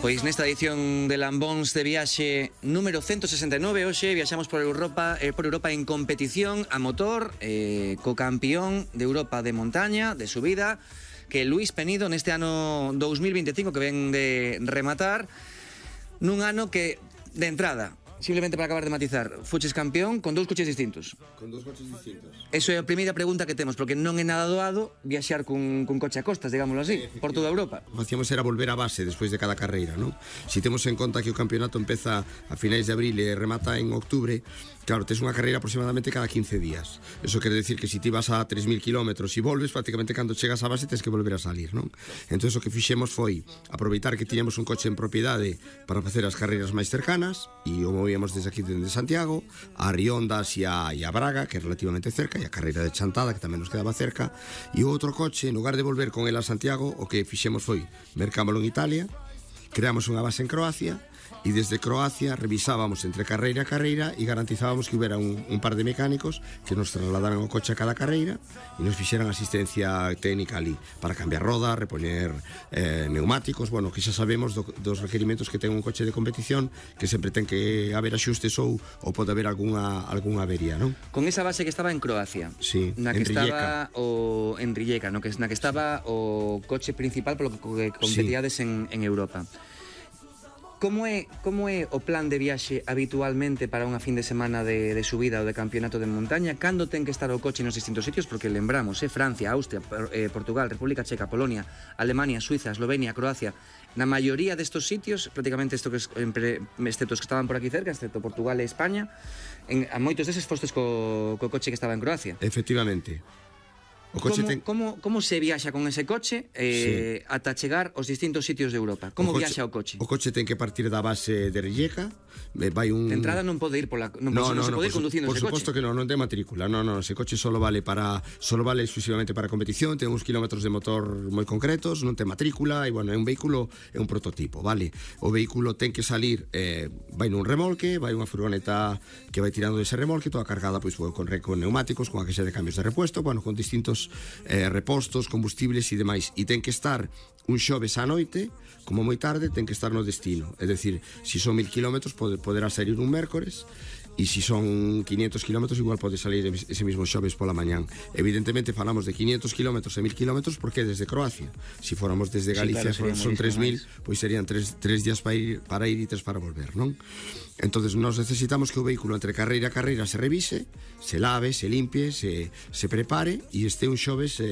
Pois nesta edición de Lambóns de Viaxe número 169, hoxe viaxamos por Europa en competición a motor, co campeón de Europa de montaña, de subida, que é Luís Penido neste ano 2025 que ven de rematar, nun ano que, de entrada, simplemente para acabar de matizar, fuches campeón con dous coches distintos. Con dous coches distintos. Eso é a primeira pregunta que temos, porque non é nada doado viaxar cun coche a costas, digámoslo así, por toda Europa. O que facíamos era volver a base despois de cada carreira, non? Si temos en conta que o campeonato empeza a finais de abril e remata en outubro, claro, tes unha carreira aproximadamente cada 15 días. Eso quere decir que si ti vas a 3.000 kilómetros e volves, prácticamente cando chegas á base tens que volver a salir, non? Entón, o que fixemos foi aproveitar que tiñamos un coche en propiedade para facer as carreiras máis cercanas e o movíamos desde aquí, desde Santiago, a Riondas e a Braga, que é relativamente cerca, e a carreira de Chantada, que tamén nos quedaba cerca, e o outro coche, en lugar de volver con el a Santiago, o que fixemos foi mercámolo en Italia, creamos unha base en Croacia, e desde Croacia revisábamos entre carreira a carreira e garantizábamos que houbera un par de mecánicos que nos trasladaran o coche a cada carreira e nos fixeran asistencia técnica ali para cambiar rodas, repoñer neumáticos, bueno, que xa sabemos dos requerimentos que ten un coche de competición, que sempre ten que haber axustes ou pode haber algunha avería, non? Con esa base que estaba en Croacia, sí, na que estaba en Rijeka, na que estaba o coche principal polo que competiades en Europa. Como é o plan de viaxe habitualmente para unha fin de semana de subida ou de campeonato de montaña? Cando ten que estar o coche nos distintos sitios? Porque lembramos, Francia, Austria, Portugal, República Checa, Polonia, Alemania, Suiza, Eslovenia, Croacia. Na maioría destos sitios, prácticamente excepto os que estaban por aquí cerca, excepto Portugal e España, a moitos deses fostes co coche que estaba en Croacia. Efectivamente. Como se viaxa con ese coche ata chegar aos distintos sitios de Europa? Como viaxa o coche? O coche ten que partir da base de Rijeka. Vai un... De entrada non pode ir non se pode ir conducindo ese coche. Por suposto que non ten matrícula. Non, ese coche só vale exclusivamente para competición, ten uns kilómetros de motor moi concretos, non ten matrícula e, bueno, é un vehículo, é un prototipo, vale? O vehículo ten que salir, vai nun remolque, vai unha furgoneta que vai tirando dese remolque, toda cargada pois con neumáticos, con a queixa de cambios de repuesto, bueno, con distintos repostos, combustibles e demais, e ten que estar un xoves á noite, como moi tarde ten que estar no destino, é dicir, se son 1000 kilómetros poderá salir un mércores, e se son 500 kilómetros igual pode salir ese mismo xoves pola mañán. Evidentemente falamos de 500 kilómetros e 1000 kilómetros porque é desde Croacia. Se fóramos desde Galicia, claro, son 3000, pois serían 3 días para ir e 3 para volver, non? Entonces nos necesitamos que o vehículo entre carreira a carreira se revise, se lave, se limpie, se prepare e este un xoves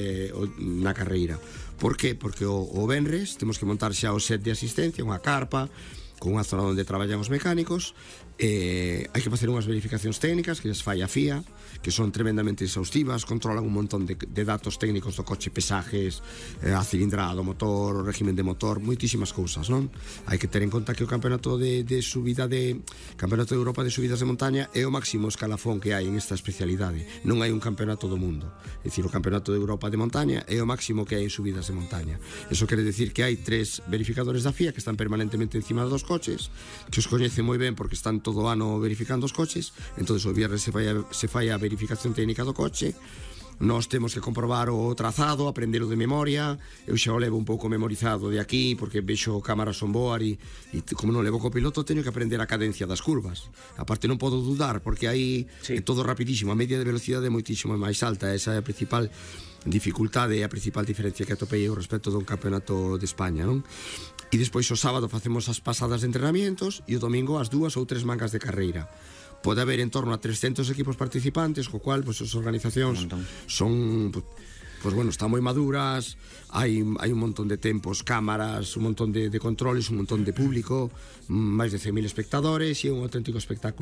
na carreira. Por que? Porque o venres temos que montar xa o set de asistencia, unha carpa con unha zona onde traballan os mecánicos, hai que facer unhas verificacións técnicas que as fai a FIA, que son tremendamente exhaustivas, controlan un montón de datos técnicos do coche, pesajes, a cilindrada do motor, o régimen de motor, moitísimas cousas, non? Hai que ter en conta que o campeonato de subida Campeonato de Europa de subidas de montaña é o máximo escalafón que hai en esta especialidade. Non hai un campeonato do mundo. É dicir, o Campeonato de Europa de montaña é o máximo que hai en subidas de montaña. Eso quere decir que hai 3 verificadores da FIA que están permanentemente encima dos coches, que os coñecen moi ben porque están todo o ano verificando os coches. Entonces o viernes se fai a verificación técnica do coche. Nós temos que comprobar o trazado, aprendelo de memoria. Eu xa o levo un pouco memorizado de aquí porque vexo cámaras on board e como non levo copiloto teño que aprender a cadencia das curvas. A parte non podo dudar porque aí é todo rapidísimo, a media de velocidade é moitísimo máis alta. Esa é a principal dificultade e a principal diferencia que atopei eu respecto dun campeonato de España, non? E despois o sábado facemos as pasadas de entrenamientos e o domingo as 2 ou 3 mangas de carreira. Pode haber en torno a 300 equipos participantes, co cual, pois, as organizacións son, pois, bueno, están moi maduras, hai un montón de tempos, cámaras, un montón de controles, un montón de público, máis de 100.000 espectadores e un auténtico espectáculo.